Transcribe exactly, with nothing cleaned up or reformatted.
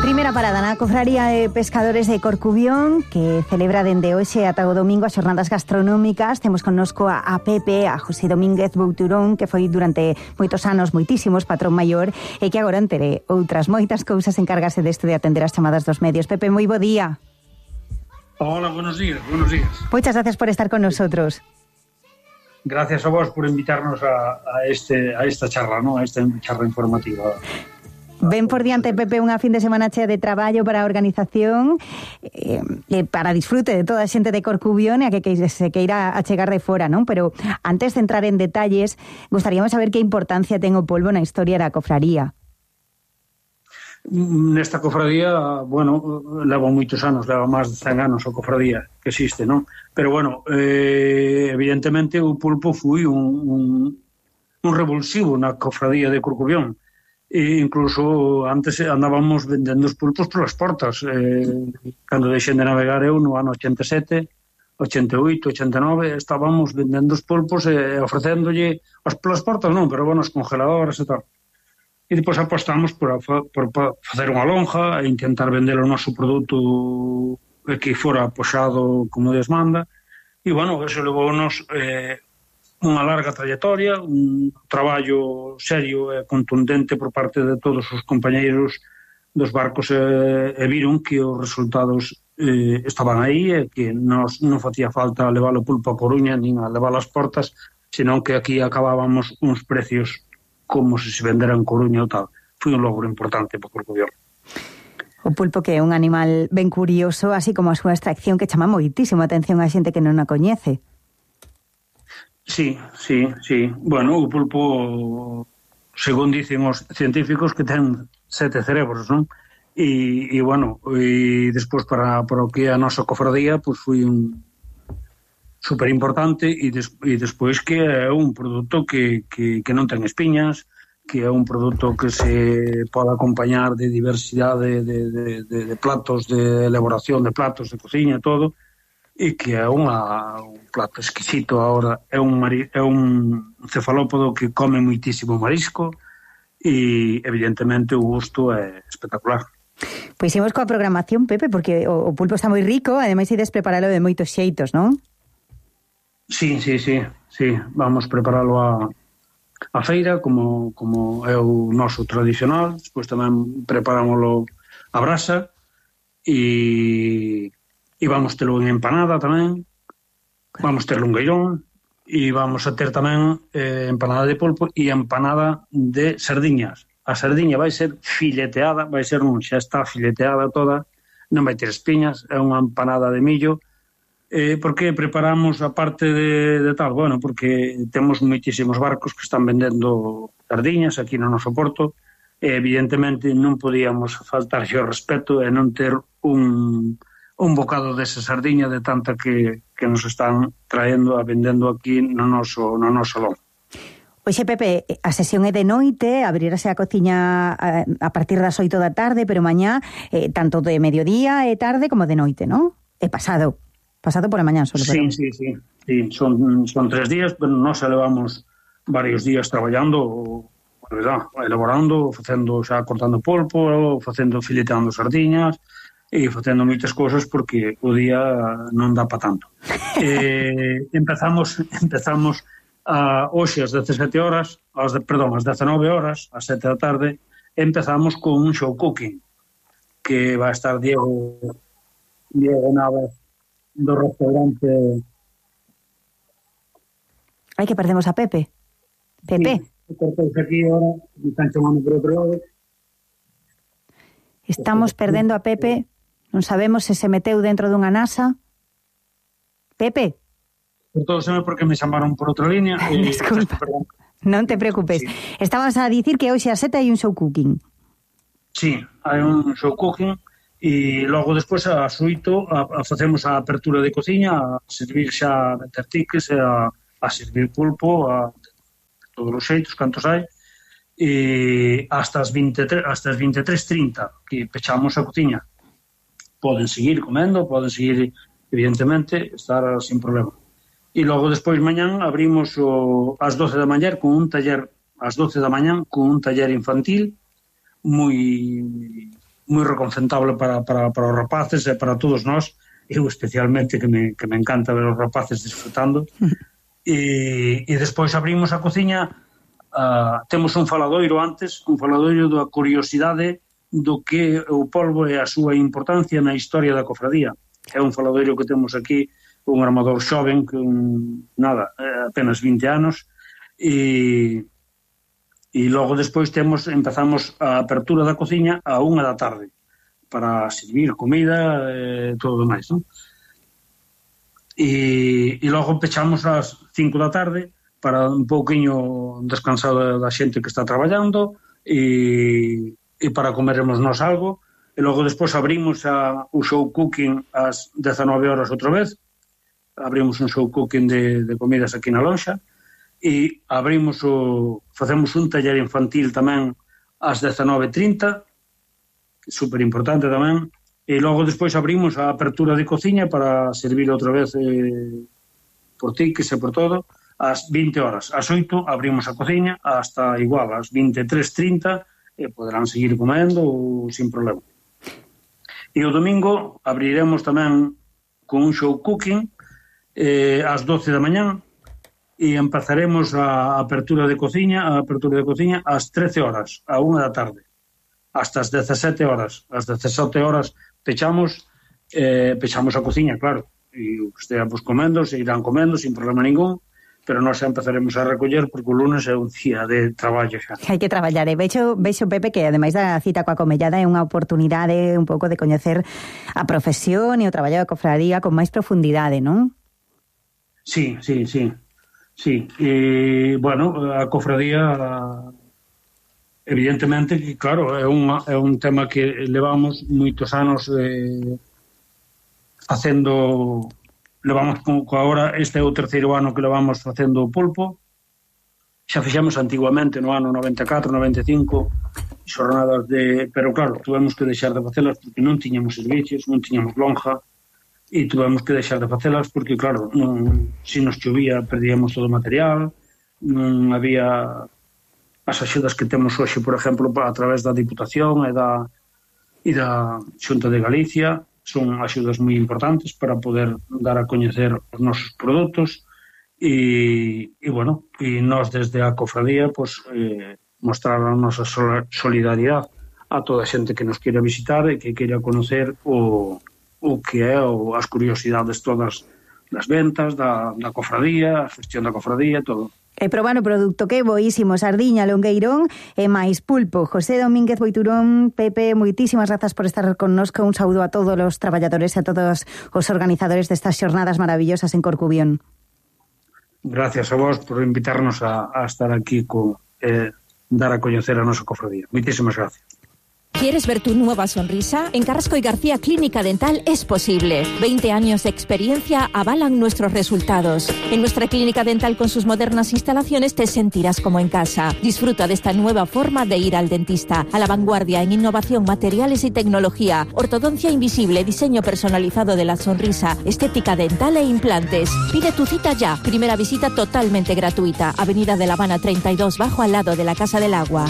Primeira parada na Cofraría de Pescadores de Corcubión, que celebra dende hoxe ata o domingo as xornadas gastronómicas. Temos connosco a, a Pepe, a José Domínguez Bouturón, que foi durante moitos anos, moitísimos, patrón maior, e que agora, entre outras moitas cousas, encárgase deste de atender as chamadas dos medios. Pepe, moi bo día. Hola, buenos días, buenos días. Moitas gracias por estar con nosotros. Gracias a vos por invitarnos a, a, este, a esta charla, ¿no? A esta charla informativa. Ven por diante, Pepe, unha fin de semana chea de traballo para a organización, eh, para disfrute de toda a xente de Corcubión e a que, que se queira achegar de fora, non? Pero antes de entrar en detalles, gostaríamos saber que importancia ten o polvo na historia da cofraría. Nesta cofradía, bueno, leva moitos anos, leva máis de cen anos a cofradía que existe, non? Pero, bueno, eh, evidentemente o pulpo foi un, un, un revulsivo na cofradía de Corcubión. E incluso antes andábamos vendendo os pulpos polas portas. Eh, cando deixen de navegar eu no ano ochenta e sete, ochenta e oito, ochenta e nove, estábamos vendendo os pulpos e ofrecéndolle as polas portas, non, pero bueno, as congeladoras e tal. E depois apostamos por, a, por, por facer unha lonja e intentar vender o noso produto que fora apoxado como Deus manda. E bueno, eso levou-nos eh, unha larga trayectoria, un traballo serio e contundente por parte de todos os compañeiros dos barcos e, e viron que os resultados eh, estaban aí e que nos, non facía falta levar o pulpo a Coruña nin a levar as portas, senón que aquí acabábamos uns precios como se se vendera en Coruña ou tal. Foi un logro importante para o Corcubión. O pulpo, que é un animal ben curioso, así como a súa extracción, que chama moitísimo a atención a xente que non a coñece. Sí, sí, sí. Bueno, o pulpo, según dicen os científicos, que ten sete cerebros, non? E, e bueno, e despois para, para o que é a nosa cofradía, pois foi un super importante, e, des, e despois que é un produto que, que, que non ten espiñas, que é un produto que se pode acompañar de diversidade de, de, de, de platos, de elaboración de platos, de cociña, todo, e que é unha, un plato exquisito. Ahora é un, mari, é un cefalópodo que come moitísimo marisco e evidentemente o gusto é espectacular. Pois imos coa programación, Pepe, porque o, o pulpo está moi rico, ademais ides preparalo de moitos xeitos, non? Sí, sí, sí, sí. Vamos preparalo a, a feira como, como é o noso tradicional, despois tamén preparámoslo a brasa e e vamos terlo en empanada tamén, vamos ter lungueirón e vamos a ter tamén eh, empanada de polpo e empanada de sardiñas. A sardiña vai ser fileteada, vai ser non, xa está fileteada toda, non vai ter espiñas, é unha empanada de millo. Eh, por que preparamos a parte de, de tal? Bueno, porque temos moitísimos barcos que están vendendo sardiñas aquí no noso porto e evidentemente non podíamos faltarlle o respeto e non ter un... un bocado desa sardiña de tanta que, que nos están traendo a vendendo aquí no noso, no noso lombo. Oxe, Pepe, a sesión é de noite, abrirase a cociña a, a partir das oito da tarde, pero mañá eh, tanto de mediodía e tarde como de noite, non? É pasado, pasado por a mañá solo. Sí, pero... sí, sí, sí. Son, son tres días, pero nós levamos varios días traballando, verdad, elaborando, facendo, xa cortando polpo, facendo fileteando sardiñas, e facendo moitas cousas porque o día non dá para tanto. eh, empezamos empezamos a hoxe ás dezasete horas, as de, perdón, ás dezenove horas, ás sete da tarde, empezamos con un show cooking que vai estar Diego Diego Navas do restaurante. Ai, que perdemos a Pepe. Pepe. Sí, cortamos aquí ahora, me están chamando por outro lado. Estamos perdendo a Pepe. Non sabemos se se meteu dentro dunha nasa. Pepe? Cortóseme porque me chamaron por outra línea. E... Desculpa, non te preocupes. Sí. Estabas a dicir que hoxe a sete hai un show cooking. Sí, hai un show cooking e logo despois a oito a, a facemos a apertura de cociña, a servir xa a meter tiques, a, a servir pulpo, a todos os xeitos, cantos hai, e hasta as veintitrés, hasta as vinte e tres trinta que pechamos a cociña. Poden seguir comendo, poden seguir, evidentemente, estar sin problema. E logo despois mañán abrimos o, ás doce da mañá con un taller, ás doce da mañá con un taller infantil moi moi reconcentable para, para, para os rapaces e para todos nós, eu especialmente que me, que me encanta ver os rapaces disfrutando. e, e despois abrimos a cociña, uh, temos un faladoiro antes, un faladoiro da curiosidade do que o polvo e a súa importancia na historia da cofradía. É un faladoiro que temos aquí, un armador xoven, que un, nada, apenas vinte anos, e, e logo despois temos, empezamos a apertura da cociña a unha da tarde, para servir comida e todo o demais, non? E, e logo pechamos ás cinco da tarde para un pouquiño descansar da xente que está traballando e, e para comeremos nós algo, e logo despois abrimos a, o show cooking ás dezanove horas outra vez, abrimos un show cooking de, de comidas aquí na lonxa, e abrimos o, facemos un taller infantil tamén ás dezanove e trinta, super importante tamén, e logo despois abrimos a apertura de cociña para servir outra vez eh, por tiques e por todo, ás vinte horas. Ás oito abrimos a cociña hasta igual, ás vinte e tres e trinta, e poderán seguir comendo ou sin problema. E o domingo abriremos tamén con un show cooking eh, ás doce da mañán, e empezaremos a apertura de cociña, a apertura de cociña ás trece horas, a unha da tarde, hasta as dezasete horas. As dezasete horas pechamos, eh, pechamos a cociña, claro, e os esteamos comendo, se irán comendo sin problema ningún, pero nós xa empezaremos a recoller porque o lunes é un día de traballo xa. Hai que traballar, e vexo, vexo Pepe, que ademais da cita coa comellada é unha oportunidade un pouco de coñecer a profesión e o traballo da cofradía con máis profundidade, non? Sí, sí, sí. Sí, e, bueno, a cofradía... Evidentemente que, claro, é un, é un tema que levamos moitos anos eh, facendo, levamos con, con agora, este é o terceiro ano que levamos facendo o pulpo, xa fixemos antiguamente no ano noventa e catro, noventa e cinco, xornadas de, pero claro, tuvemos que deixar de facelas porque non tiñamos servicios, non tiñamos lonja, e tuvemos que deixar de facelas porque, claro, non, se nos chovía perdíamos todo o material, non había... as axudas que temos hoxe, por exemplo, a través da Diputación e da, e da Xunta de Galicia, son axudas moi importantes para poder dar a coñecer os nosos produtos e, e bueno, e nós desde a cofradía pues, eh, mostrar a nosa solidaridade a toda a xente que nos queira visitar e que queira conocer o, o que é o, as curiosidades todas das ventas, da, da cofradía, a gestión da cofradía, todo. E probar o produto que é boísimo, sardiña, longueirón e máis pulpo. José Domínguez Boiturón, Pepe, moitísimas grazas por estar connosco. Un saúdo a todos os traballadores e a todos os organizadores destas xornadas maravillosas en Corcubión. Gracias a vos por invitarnos a, a estar aquí con eh, dar a coñecer a nosa cofradía. Moitísimas gracias. ¿Quieres ver tu nueva sonrisa? En Carrasco y García Clínica Dental es posible. veinte años de experiencia avalan nuestros resultados. En nuestra clínica dental con sus modernas instalaciones te sentirás como en casa. Disfruta de esta nueva forma de ir al dentista. A la vanguardia en innovación, materiales y tecnología. Ortodoncia invisible, diseño personalizado de la sonrisa, estética dental e implantes. Pide tu cita ya. Primera visita totalmente gratuita. Avenida de La Habana treinta y dos, bajo al lado de la Casa del Agua.